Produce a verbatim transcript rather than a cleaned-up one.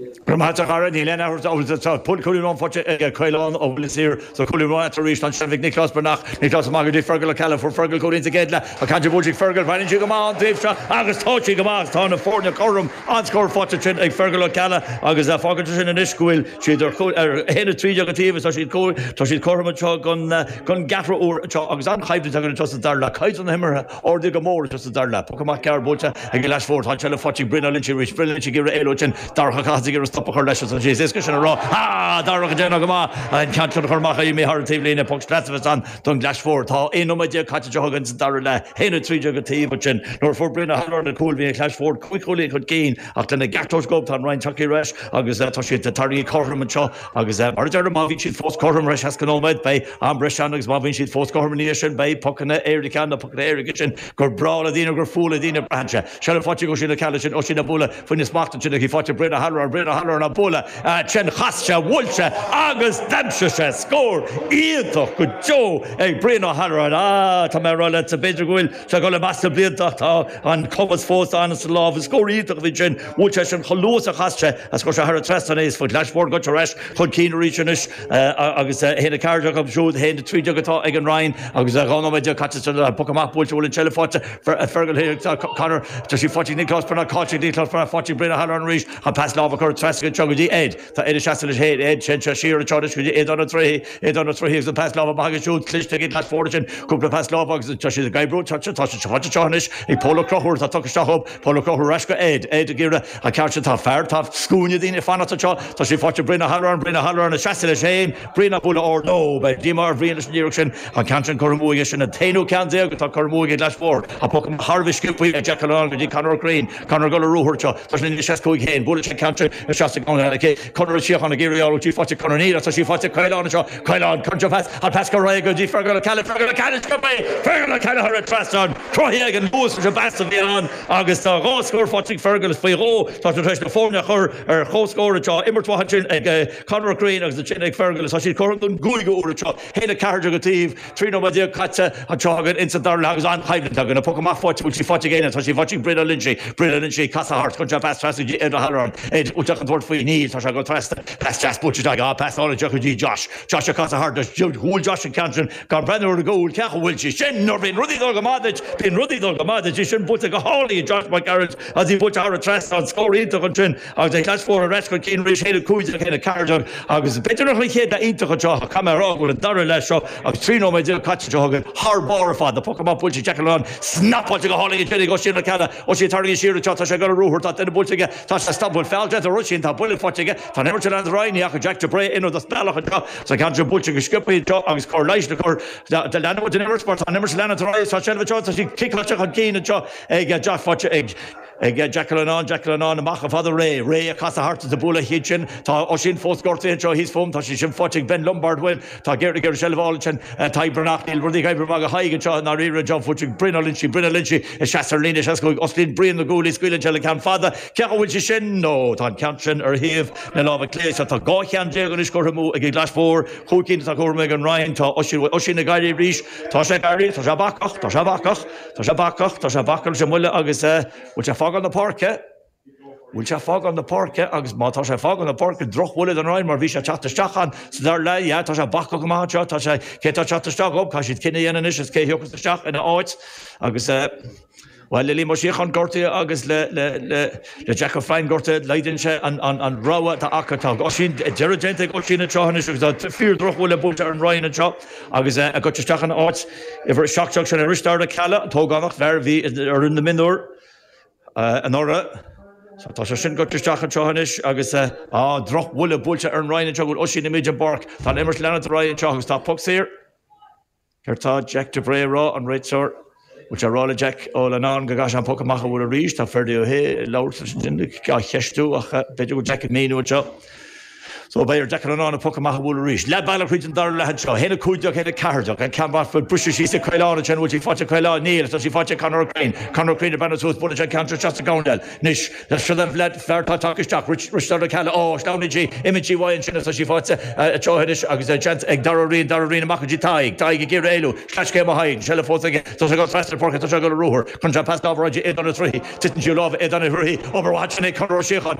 Go níl cúilín faighte ag Caolán ó Lisír so cúilín tar éis an sem Nioclás Breathnach Nioclás amach go dtí Fergal Ó Ceallaigh fuair Fergal cúilín sa gcéad leath a ceann buailte Fergal bhain sí go maith an taobh seo agus tá sí go maith tá na foirne cothrom an scór faighte sin ag Fergal Ó Ceallaigh agus fágann sin anois go bhfuil siad ar haon a trí déag an taobh tá siad tá siad cothrom seo gon gon gceathrú uair seo agus an-choimhlint againn anseo sa dara leath caighdeán na himeartha ardaithe go mór sa dara leath. Poc amach gearr buailte ag Glais Mhór tá se faighte ag Brian Lynch arís Brian Lynch ag iarraidh éalú sin Darach Ó Cathasaigh stop a chur leis an sé is sin rá Darach ag déanamh go maith an ceann chur amach mé thar taobhlíne poc sleas an don Ghlas Mhór tá aon nóiméad caite againn sa dara leath haon a trí déag an taobh sin nuair fuair Brian Ó hAlluráin an cúl bhí an Clais Mhór cúig chúilín chun cinn ach lena gceartóis gob tá an Rinn tagtha ar ais agus tá siad tarraingthe cothrom anseo agus mar deir má bhíonn siad fós cothrom tar éis seasca nóiméad beidh am breise agus má bhíonn siad fós cothrom ní sin beidh pocanna éirice na pocanna éirice sin gur breá le daoine gur fuath le daoine braitheann sé. Se faighte ag Oisín Ó Ceallaigh sin Oisín ag bualadh faoina smacht sin faighte Brian Ó hAlluráin Brian Ó Hallúráin ag bualadh sin chas sé bhuail sé agus d'aimsigh sé scór iontach go deo ag Brian Ó hAlluráin á tá mé rá le sa b'fhéidir go bhfuil sé go le meas blianta tá an cumas fós an sa lámh scór iontach bhí sin bhuail sé sin chomh luath a chas sé a scór sé thar an trasnán é faoi Ghlais Mhór go tar éis chun cinn arís anois agus haon a ceathair déag siúd haon a trí déag atá ag an Rinn agus dhá nóiméad caite poc amach buailte bhfuil an tseilbh faighte Fergal Conor tá sí faighte Nioclás Breathnach cáte Nioclás Breathnach faighte Brian Ó hAlluráin arís an pas láimhe chur trasna go dtí Ed Tá Ed seasta leis héad Ed sin se siar teis go dtí Aodán Ó Troigh Aodán Ó Troigh agus an pas láimhe maith siúd cliste ag Glass Mhór sin cúpla pas láimhe agus tá siad ag oibriú tá tá sé faighte seo anois ag Pól Ó Conchúir tá tugtha isteach op Pól Ó Conchúir ar ais go Ed Ed ag iarraidh an ceart sin tá fear tá scuaine daoine fanacht seo tá sé faighte Brian Ó hAlluráin Brian Ó Hallúráin seasta leis féin Brian ag bualadh ard nó beidh díomá ar Bhrian leis an iarracht sin an ceann sin curtha amú aige sin an t-aonú ceann déag atá curtha amú ag Glass Mhór a poc thar bheith sciobtha ag Jack O'Lán go dtí Conor Green Conor go ruathar seo tá sin seas cúig haon buail sé ceann seas Conor Síocháin ag iarraidh tí faighte Conor Níl tá sí faighte Caolán seo Caolán chun pas an pas go raibh go dtí Fergal Ó Ceallaigh Fergal Ó Ceallaigh go bé Fergal Ó Ceallaigh thar an trasnán cruthaithe ag an luas an bas a bhí ann agus tá dhá scór faighte ag Fergal faoi dhó tá sé na foirne chur ar chomhscór seo imirt mhaith sin ag Conor Green agus sin ag Fergal tá siad cothrom don gcúigiú huair seo haon a ceathair déag an taobh trí nóiméad déag caite anseo againn insa dara leath agus an-choimhlint againn a poc amach faighte bhfuil sí faighte géine tá sí faighte Brian Lynch Brian Lynch casadh thart chun se pas trasna Ed Ó hAlluráin Ed uteach an tuairt faoi níl tá sé go trasna pas deas buailte á pas ála go dtí Josh Josh a casadh thart bhuail Josh an ceann sin gan breathnú ar an gcúl ceach bhfuil sí sin nuair bhíonn rudaí dul go maith bíonn rudaí dul go maith sin buailte go hálainn Josh McGarrett as í buailte thar an trasnán scór iontach ansin agus é Glass Mhór ar ais chun cinn arís haon a cúig déag haon a ceathair déag agus b'fhéidir nach chéad leath iontach anseo tá mé rá bhfuil an dara leath seo agus trí nóiméad déag caite seo againn thar barr fad na poc amach buailte Jack O'Lán snapáilte go hálainn sin go sin ceanna ó sí tarraingthe siar tá sé go ruathar tá duine buailte aige tá sé stopbhfuil feall de ru sin tá buille faighte aige tá imirt an Rinn ach Jack de Bré ina do bealach anseo sa ceann sin buailte go sciobtha seo agus cor leighis le cur de leanúint den imirt mar tá an imirt leanúint tá sé tá sí ciceáilte chun cinn anseo ag Jack faighte ag ag Jack O'Lán Jack O'Lán amach a fada ré ré a casadh thart a bualadh hiad sin tá ó sin fós gortaithe anseo thíos fóm tá sí sin faighte ag Ben Lombard bhfuil tá géir gur seilbh sin Taibreach níl rudaí ag oibriú go haig anseo ná rí John faighte Brian Ó Loinsigh Brian Ó Loinsigh seas ar líne seas go osclaíonn Brian na guaillí scaoileann sé le ceann fada ce bhfuil sé sin nó tá an ceann sin ar thaobh na lámha clé tá dhá cheann déag anois curtha amú ag Glas Mhór cúig cinn tá curtha amú ag an Rinn tá Oisín ag éirí arís tá sé éirí tá sé bacach tá sé bacach tá sé bacach tá sé bacach sé muile agus bhfuil sé fágáil na páirce Bhfuil sé fágáil na páirce agus má tá sé fágáil na páirce drochbhuille don Rinn mar bhí sé teacht isteach an sa dara leath yeah, tá sé bacach go maith seo tá sé cé tá teacht isteach op tá siad cinneadh a dhéanamh anois is cé thiocfas isteach ina áit agus uh, Well le Liam Ó Síocháin gortaithe agus le le le le Jack O'Flynn gortaithe laghdaíonn sé an an an rogha atá acu tá Oisín deireadh déanta ag Oisín anseo anois agus tá fíor drochbhuille buailte ar an Rinn anseo agus uh, a go isteach an áit uimhir seacht sin ar Risteard Ó Ceallaigh an t-ógánach fear bhí ar na mionúir uh, anuraidh. So tá sé sin go isteach anseo anois agus uh, á drochbhuille buailte ar an Rinn anseo go Oisín i an bpáirc Tá imirt leanúint ar aghaidh anseo agus tá poc saor. Céard tá Jack de Bré rá an réiteoir Bhfuil sé rá le Jack ó Leanán go gcaithfidh an poc amach a bhfuil arís tá Ferdi ó hé labhairt sin á cheistiú ach b'fhéidir go Jack míú seo. So beidh ar Jack an an poc amach a bhfuil arís. Le bailach chuid an dara leath seo, haon a cúig déag haon a ceathair déag an ceann fu buise sí Caolán sin bhfuil sí faighte Caolán níl tá sí faighte Conor Crean, Conor Crean a bena suas buna an ceann se gáil. Anois le seo le fear tá isteach Risteard Ó Ceallaigh á sleamhnaíonn sí imíonn sí uaidh sin tá sí faighte seo agus seans ag Dara Rian Dara Rian amach dtí Tadhg, Tadhg ag iarraidh éalú, Slascé a hain, seilbh fós aige tá sé go trasna páirce tá sé go ruathar chun se pas láimhe Aodán Ó Troigh, Titeann sí lámh Aodán Ó Troigh, obair sin é Conor Ó Síocháin,